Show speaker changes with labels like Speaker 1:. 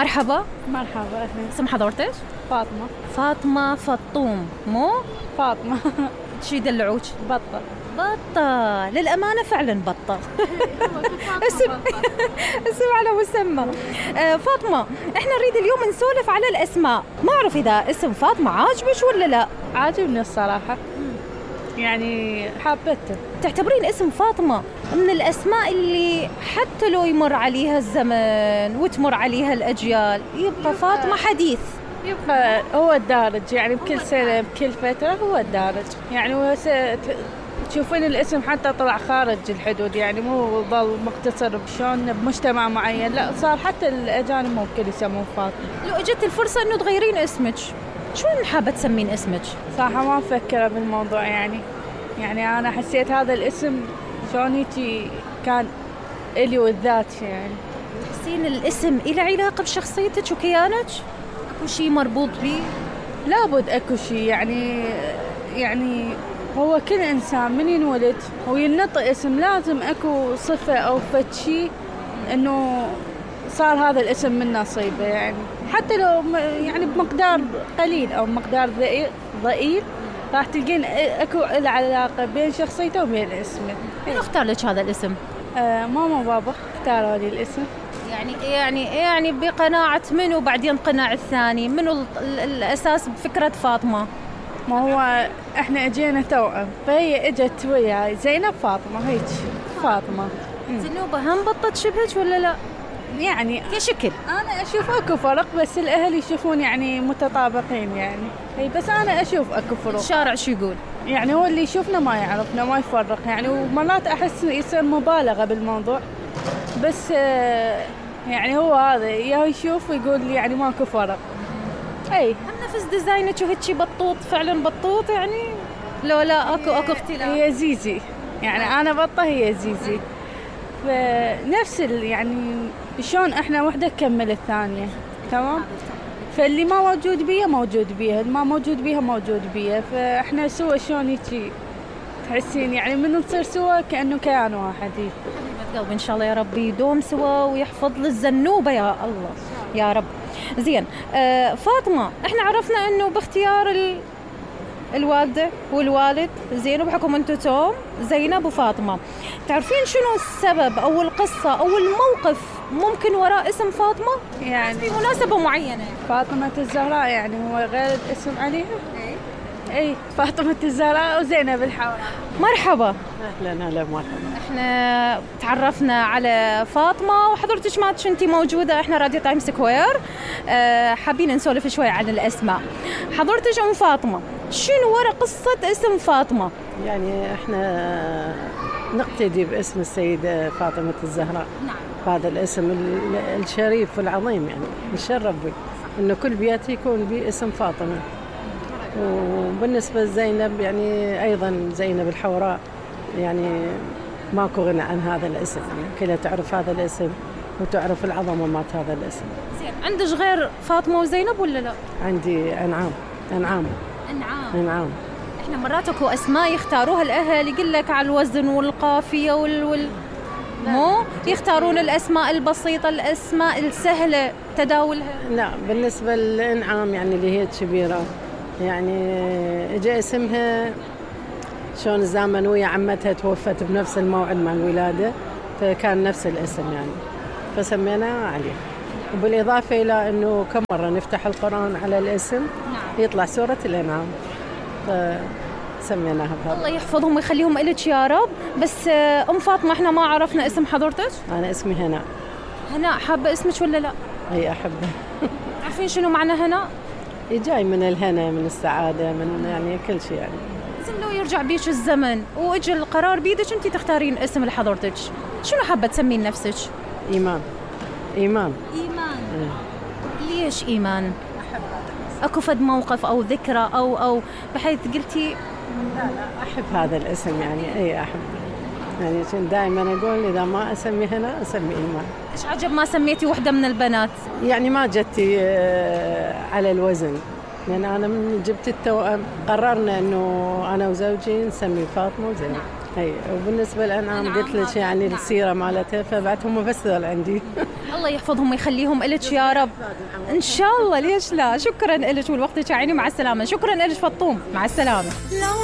Speaker 1: مرحبا.
Speaker 2: مرحبا أهلا.
Speaker 1: اسم حضرتك؟
Speaker 2: فاطمة.
Speaker 1: فاطمة فطوم مو؟
Speaker 2: فاطمة.
Speaker 1: شي يدلعوك؟
Speaker 2: بطة.
Speaker 1: بطة، للأمانة فعلا بطة. اسم على مسمى. فاطمة، احنا نريد اليوم نسولف على الأسماء، ما أعرف إذا اسم فاطمة عاجبك ولا لا؟
Speaker 2: عاجبني الصراحة، يعني حابته.
Speaker 1: تعتبرين اسم فاطمة من الأسماء اللي حتى لو يمر عليها الزمن وتمر عليها الأجيال يبقى فاطمة حديث؟
Speaker 2: يبقى هو الدارج، يعني بكل سنة بكل فترة هو الدارج، يعني هو تشوفين الاسم حتى طلع خارج الحدود، يعني مو ظل مقتصر شلون بمجتمع معين، لا صار حتى الأجانب ممكن يسمون فاطمة.
Speaker 1: لو اجت الفرصة انه تغيرين اسمك شلون حابة تسمين اسمك؟
Speaker 2: صراحة ما مفكرة بالموضوع، يعني أنا حسيت هذا الاسم شلون هيجي كان إلي والذات، يعني
Speaker 1: تحسين الاسم إله علاقة بشخصيتك وكيانك؟ أكو شيء مربوط بيه؟
Speaker 2: لابد أكو شيء، يعني هو كل إنسان من ينولد وينطق اسم لازم أكو صفة أو فد شيء إنه صار هذا الاسم من نصيبه، يعني حتى لو يعني بمقدار قليل أو مقدار ضئيل راح تلقين أكو العلاقة بين شخصيته وبين اسمه.
Speaker 1: مين اختار لك هذا الاسم؟
Speaker 2: ماما وبابا اختاروا لي الاسم.
Speaker 1: يعني بقناعة منو وبعدين قناع الثاني؟ منو الأساس بفكرة فاطمة؟
Speaker 2: ما هو احنا اجينا توأم، فهي اجت وياي زينب فاطمة، هيك فاطمة.
Speaker 1: زنوبة هم بطت شبهك ولا لا؟
Speaker 2: يعني
Speaker 1: كشكل
Speaker 2: انا اشوف اكو فرق، بس الاهل يشوفون يعني متطابقين، يعني هي بس انا اشوف اكو فرق.
Speaker 1: الشارع شو يقول؟
Speaker 2: يعني هو اللي يشوفنا ما يعرفنا ما يفرق، يعني ومرات احس يصير مبالغة بالموضوع، بس يعني هو هذا يا يشوف ويقول لي يعني ماكو فرق. اي
Speaker 1: هم نفس ديزاينك وهيك بطوط، فعلا بطوط يعني؟ لا اكو اختلاف.
Speaker 2: هي زيزي، يعني انا بطة هي زيزي، فنفس يعني شلون احنا وحدة تكمل الثانية، تمام؟ فاللي ما موجود بيها موجود بيها، اللي ما موجود بيها موجود بيها، فاحنا سوا شلون هيك تحسين يعني من نصير سوا كأنه كيان واحد.
Speaker 1: قلبي ان شاء الله يا رب يدوم سوا ويحفظ للزنوبة يا الله يا رب. زين فاطمة، احنا عرفنا انه باختيار الوالدة والوالد زين، وبحكم انتو توم زينب وفاطمة، تعرفين شنو السبب او القصة او الموقف ممكن وراء اسم فاطمة؟
Speaker 2: يعني
Speaker 1: في مناسبة معينة.
Speaker 2: فاطمة الزهراء يعني هو غير اسم عليها؟ اي فاطمة الزهراء وزينب الحوراء.
Speaker 1: مرحبا.
Speaker 3: اهلا مرحبا.
Speaker 1: احنا تعرفنا على فاطمة وحضرتك ما كنتي موجودة، احنا راديو تايم سكوير، حابين نسولف شوي عن الاسماء. حضرتك ام فاطمة، شنو ورا قصة اسم فاطمة؟
Speaker 3: يعني احنا نقتدي باسم السيدة فاطمة الزهراء.
Speaker 1: نعم.
Speaker 3: هذا الاسم الشريف والعظيم، يعني نشرف به انه كل بيت يكون باسم فاطمة. وبالنسبة لزينب يعني أيضا زينب الحوراء، يعني ماكو غنى عن هذا الاسم، يعني كلها تعرف هذا الاسم وتعرف العظمة مات هذا الاسم.
Speaker 1: زين، عندك غير فاطمة وزينب ولا لا؟
Speaker 3: عندي أنعام. احنا
Speaker 1: مرات اكو اسماء يختاروها الاهل، يقول لك على الوزن والقافية مو يختارون الاسماء البسيطة، الاسماء السهلة تداولها.
Speaker 3: لا، بالنسبة لأنعام يعني اللي هي كبيرة، يعني اجى اسمها شلون الزمن ويا عمتها توفت بنفس الموعد مع الولادة، فكان نفس الاسم يعني فسميناه عليه. وبالإضافة إلى أنه كم مرة نفتح القرآن على الاسم يطلع سورة الأنعام، فسميناها بهذا.
Speaker 1: الله يحفظهم ويخليهم إلك يا رب. بس أم فاطمة احنا ما عرفنا اسم حضرتك.
Speaker 3: أنا اسمي هناء.
Speaker 1: هناء، حابة اسمك ولا لا؟
Speaker 3: أي أحبه.
Speaker 1: عارفين شنو معنى هناء؟
Speaker 3: جاي من الهنا، من السعادة، من يعني كل شيء يعني.
Speaker 1: زين، لو يرجع بيش الزمن واجى القرار بيدك انت تختارين اسم لحضرتك، شنو حابة تسمين نفسك؟
Speaker 3: إيمان.
Speaker 1: ليش إيمان؟ أكو فد موقف أو ذكرى أو بحيث قلتي؟
Speaker 3: لا أحب هذا الاسم، يعني أي أحب، يعني دائما أقول إذا ما أسمي هنا أسمي إيمان.
Speaker 1: إيش عجب ما سميتي وحدة من البنات؟
Speaker 3: يعني ما جتي على الوزن، لأن أنا من جبت التوأم قررنا إنه أنا وزوجي نسمي فاطمة وزينب. اي وبالنسبه للانعام قلت لك يعني السيره مالتها، فبعد هم بس ذول عندي.
Speaker 1: الله يحفظهم ويخليهم إلك يا رب ان شاء الله، ليش لا. شكرا لك ولوقتك يا عيني، مع السلامه. شكرا لك فطوم، مع السلامه.